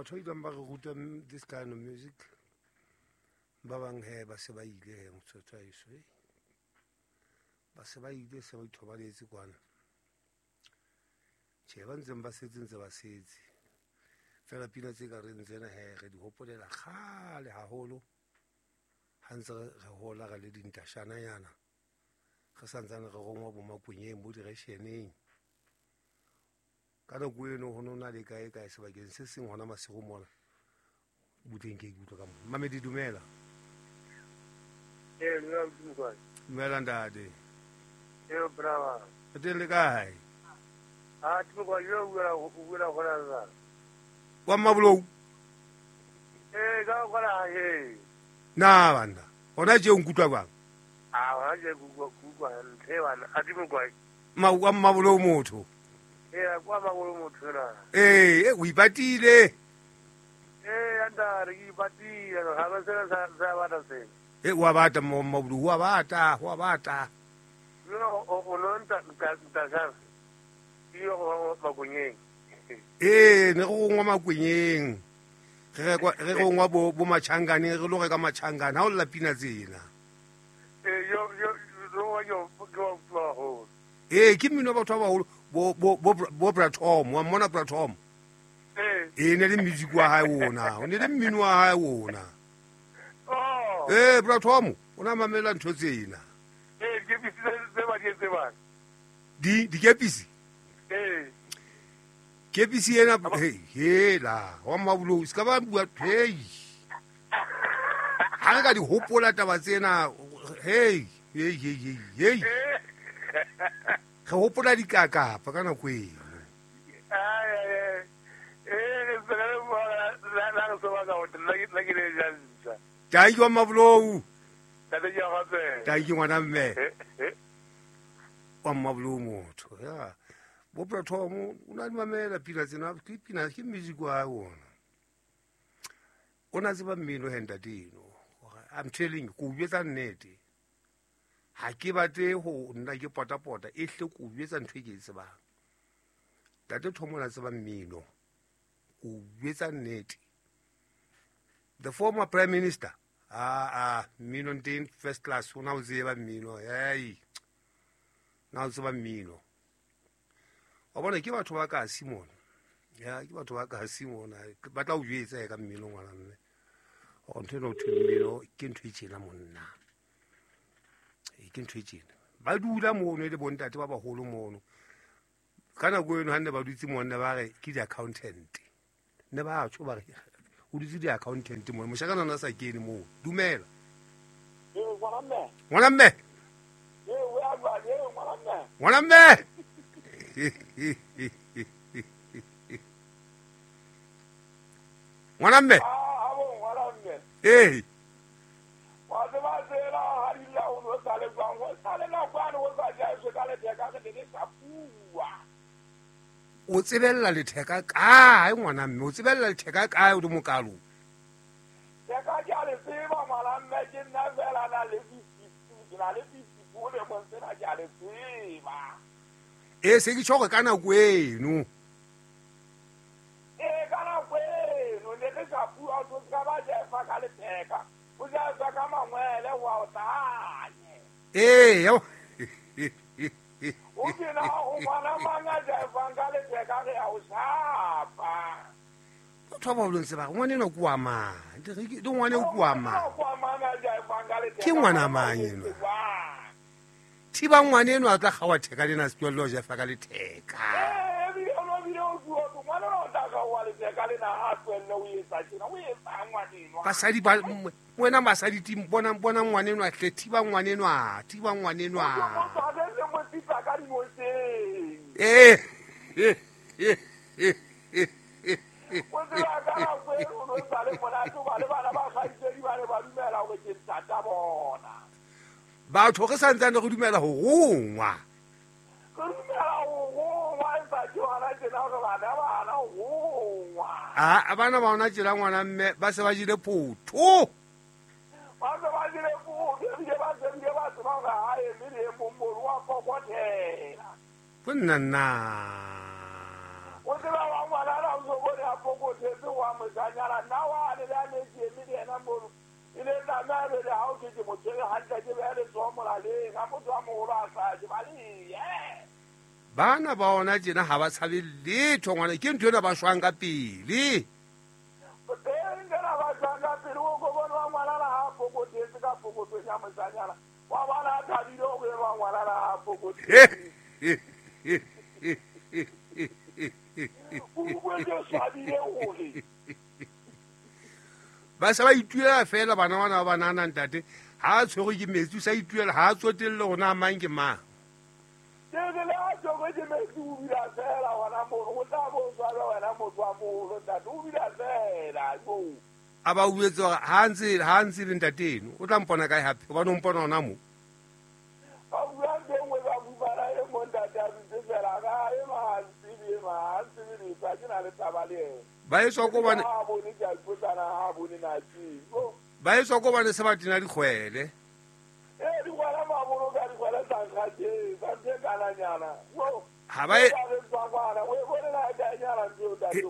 Batho ba ileng ba re ruta this kind of music, ba bang he ba se ba ile he motsotso wa heso, ba se ba ile, se ba ithobaletse kwana. Tjhe, ba ntseng ba setse ntse ba setse fela. Pina tse ka reng tsena he re di hopolela kgale haholo, ha ntse re hola, re le dintashananyana, re santsane re rongwa bo makwenyeng, bo diresheneng. Ka nako eno ho no na le kae kae sebakeng se seng hona masigo mona butleng. Ke ikutlwa ka mo mamedi. Dumela. Ee, dumela Modimo. Dumela ntate. Ee, brava. Re teng, le kae? Ah, Timo, yo o buela gona la. Wa Mmabolou? Ee, ka gona he. Na banna, gona tše o nkutlwa bang? Ah, gona je ku ku ntle bana. A Timo kwa. Ma wa Mmabolou motho. Ee, kwa Mmabolou motho na. Ee, o ipatile. Ee, anda re ipatile, ga ba sena sa sa bata sena. E wa bata mo Mmabolou, wa bata, wa bata. No, o no nta nta nta sa. Yo go makonyeng. Ee, ne go gongwa makwenyeng, re gongwa bo machangane, re lo reka machangane ha o lla pina tsena. Ee, yo yo yo yo yo yo. Ee, ke mmino wa batho ba baholo, bo Bratom wa mmona Bratom. Ee. Ee, ne le music wa hae ona, o ne le mmino wa hae ona. Oh. Ee, Bratom o na mamela ntho tsena. Ee, ke bisitse tse ba di tsebang. Di dikepisi. Ee. Kepisi ena hela wa Mmabolou se ka ba bua. Hei, ha re ka di hopola taba tsena, hei hei hei hei hei, re hopola dikakapa ka nako eno. Ai ai. Ee, se ka la la so ba ka o nna ke le jantsa. Tanki wa Mmabolou. Tate ke gape. Tanki ngwana mme wa Mmabolou motho ya bo Platform o na di mamela pina tsena. Ke pina, ke music wa hae ona, o na tseba mmino he ntate eno. I'm telling you, ko o jwetsa nnete, ha ke batle ho nna ke potapota e hle, ko o jwetsa ntho e ke e tsebang. Ntate Thomo o na tseba mmino, ko o jwetsa nnete. The former prime minister, a mmino nteng first class, o na o tseba mmino. Hei, na o tseba mmino wa bona. Ke batho ba kasi mona ya, ke batho ba kasi mona, ba tla o jwetsa ka mmino ngwana mme gore ntho ena o thwe mmino ke ntho e tjena monna. Ee, ke ntho e tjena. Ba dula mono e le bontate ba baholo mono ka nako eno. Ha nne ba dutse monna ba re ke di-accountant, ne ba tjho ba re o dutse di-accountant mono. Moshakana na sa kene moo. Dumela. Ee, ngwana mme. Ngwana mme. Ee, o ya jwang? Ee, ngwana mme. Ngwana mme. Ngwana mme. Ah, abo ngwana mme. Ee. Wa tseba tsela ha di la o no sale jwang? Ho sale nakwane ho sa jaeswe ka letheka, re ne re sa bua. O tsebella letheka kae ngwana mme? O tsebella letheka kae o le mokalo? Theka ke a le tseba ngwana mme, ke nna fela na le 52, ke na le 54 lemong sena, ke a le tseba. E se ke tjho hore ka nako eno. Ee, ka nako eno ne re sa bua, o se ka ba jefa ka letheka, o jefa ka mangwele wa o tanye. Ee ya. O kena o ngwana mang a jefang ka letheka, re a o shapa. Batho ba baholo ntse ba re ngwana enwa ke wa mang? Le ngwana eo ke wa mang? Kwa mang a jefang ka letheka? Ke ngwana mang enwa? Thiba ngwana enwa a tla kgawa theka lena, se tlohelle ho jefa ka letheka. Ee, ebile o no bile o bua hore ngwana o tla kgaoha letheka lena, ha a tlohelle o etsa tjena, o etsang ngwanenwa? Basadi ba wena, basadi tim bona, bona ngwana enwa hle, thiba ngwana enwa, thiba ngwana enwa. Motho a se se mo tsitsa ka dinotsheng. Ee. O tseba ka nako eno o no sa le monate hoba le bana ba kgaitsedi ba ne ba dumela hore ke ntata bona. Batho re santsane re dumela ho rongwa. Re dumela ho rongwa, empa ke hona tjena hore bana ba hana ho rongwa. A bana ba ona tjena ngwana mme ba se ba jele photho. Ba se ba jele photho, ebile ba se bile ba tseba hore ha eme le e mong mono wa kokothela. Go nna nna. O tseba wa ngwana na o so bone a pokothetse wa moshanyana nna wane le a ne ke eme le ena mono e le tlameha be le ha o ke mo tshwere hantle ke behe letsoho molaleng ha motho a moholo a sa je ba le bana ba ona tjena ha ba tshabe letho ngwana ke ntho ena ba shwang ka pele teng tsena ba shwang ka pele o ko bone wa ngwanana ha pokothetse ka pokothong ya moshanyana wa bona a thabile o boele wa ngwanana ha pokothetse ba sa ba ituela fela bana bana ba banana ntate ha a tshwerwe ke metsi o sa ituela ha a tsotelle hore na mang ke mang ke le a tshwerwe ke metsi o bila fela hona mono o tla bo tshwara wena motho wa moholo ntate o bila fela a ba uetse hore ha ntse le ntate eno o tla mpona kae hape hobane o mpona hona moo ba bua ntho e nngwe ba fumana e mong ntate a dutse fela ka e ma ntsebe ma ntsebe letho ha ke na le taba le ena ba etswa ko bane ha bone ke a ipotsana ha bone na ke ba etswa ko bane se ba tena dikgwele e dikgwele ma boloka dikgwele tsa nkga tje tsa ntho e kananyana ha ba e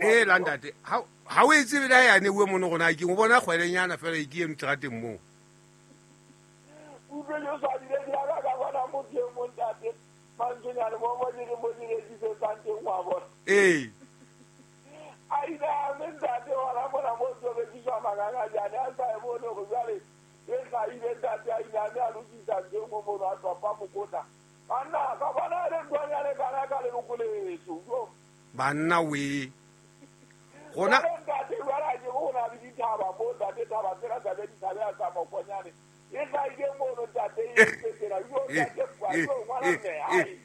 e la ntate ha o e tsebe le ha yane uwe mono rona ke o bona kgwelenyana fela e ke eno terateng moo utlwe ke swabile ke ya ka bona motho e mong ntate mantsonyane mo mo ke mo di rekisetsang teng wa bona ee a ile a mme ntate hona mona mo tlo rekiswa mangangajane a sa e bone hore jwale e hlahile ntate a ile a mme a lokisa ntho e nngwe mono a topa mokotla banna ka bona e le nthwanyane kana ka leloko leso banna we gona ntate jwale a ke go na le dithaba mo ntate thaba tsena tsa be dithabe a tsa mokonyane e hlahile mono ntate e tsena yo ntate kwa yo ngwana mme ai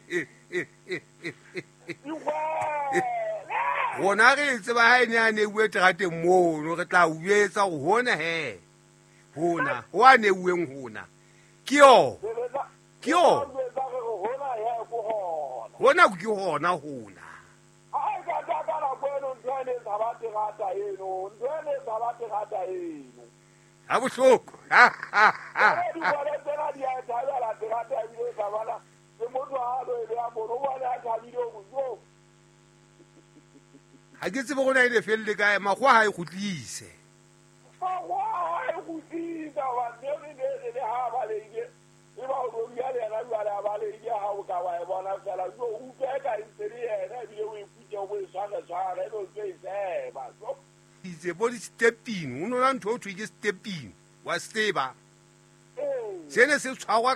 gona re tseba ha ene a neuwe terateng mono re tla uetsa hore hona he hona ho a neuweng hona ke yo ke yo hona ke hona hona ai ka ka ka la kweno ntho ene tsa terata eno ntho ene tsa terata eno ha bohloko di bona tsena di a thabela terata ebile tsa bana le motho ha lo e beha mono o bona a thabile ho jo ha ke tsebe gona e ne felle kae makgowa ha e kgutlise makgowa ha e kgutlisa hobane ne le ha baleile e ba o roria le yena jwale a baleile ha o ka wa e bona fela jo utlwe ka e ntse le yena ebile o e kutse o bo e tshware tshware e be o tlo e seba itse bo di-stepping o nona ntho o thwe ke stepping wa seba sene se tshwarwa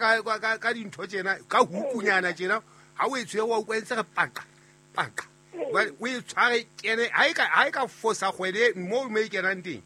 ka dintho tjena ka hukunyana tjena ha o e tshwere wa utlwa e ntse re paqa paqa o e tshware kene ha e ka fosa kgwele mo mo e kenang teng